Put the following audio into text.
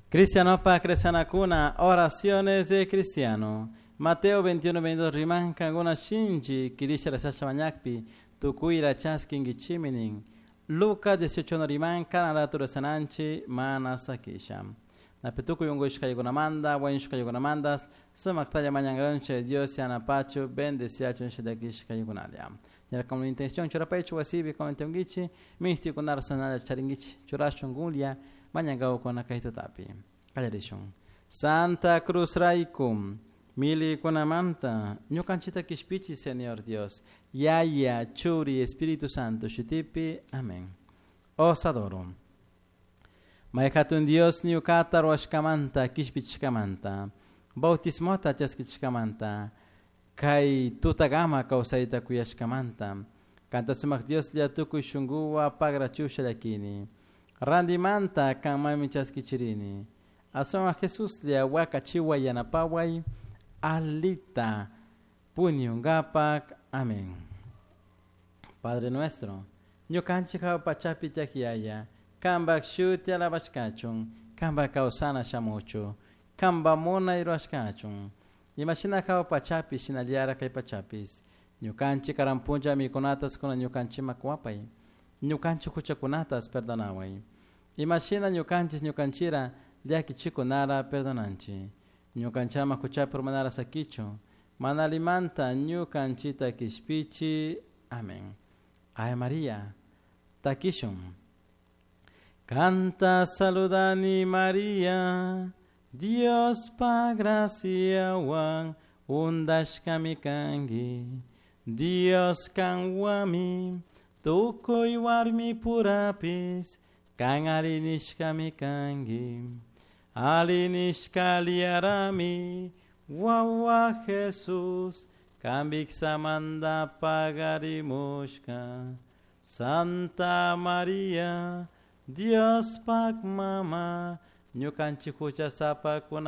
Cristianopa cristianakuna, oraciones de cristiano. Mateo 21, 22 riman kankuna shinchi kirisha rezasha mañakpi tukuyra chaskinkichiminin. Lucas 18 riman kana rezananchi mana sakisha. Napi tukuy unkushkaykunamanta wañushkaykunamantas sumaktalla mañankanchik Dios yanapachu bendeciachun shidakishkaykunalla. Ñara con intención churapaychu wasipi comentenguichi mistikunara sanalla charinguichi churashun gunlia mañankawkuna kay tutapi. Qallarishun. Santa Cruz raykum milikunamanta ñukanchita kishpichi Señor Dios. Yaya, Churi, Espíritu Santo, shutipi. Amén. Os adoro. Mayhatun Dios ñukata ruwashkamanta kishpichishkamanta bautismota chaskichishkamanta kay tutagama kawsayta kuyashkamanta kanta sumak Dioslla tukuy shunkuwa pagrachusha llakini randimanta kanmanmi chaskichirini aswan Jesuslla wakachiway yanapaway alita puñunkapak. Amén. Padre nuestro, ñukanchik hawa pachapi tiyak yaya, kanpak shuti alabashkachun, kanpak kawsana shamuchu, kanpak munay rurashkachun. Imashina hawa pachapi shinallara kay pachapis. Ñukanchik karan punlla mikunatas kuna ñukanchikman kuwapay. Ñukanchik huchakunatas perdonaway. Imashina ñukanchik ñukanchira llakichikunara perdonanchik. Ñukanchik ama huchapi urmanara sakichu. Mana allimanta ñukanchita kishpichi. Amén. Ave María, takishun. Kanta saludani María, Diospa graciawan undashkami kanki. Dios kanwami, tukuy warmi purapis, kan arinishkami kanki. Arinishka liarami, wawa Jesus, kambiksamanta pagarimushka. Santa María, Diospak mama, ñukanchik huchasapakuna.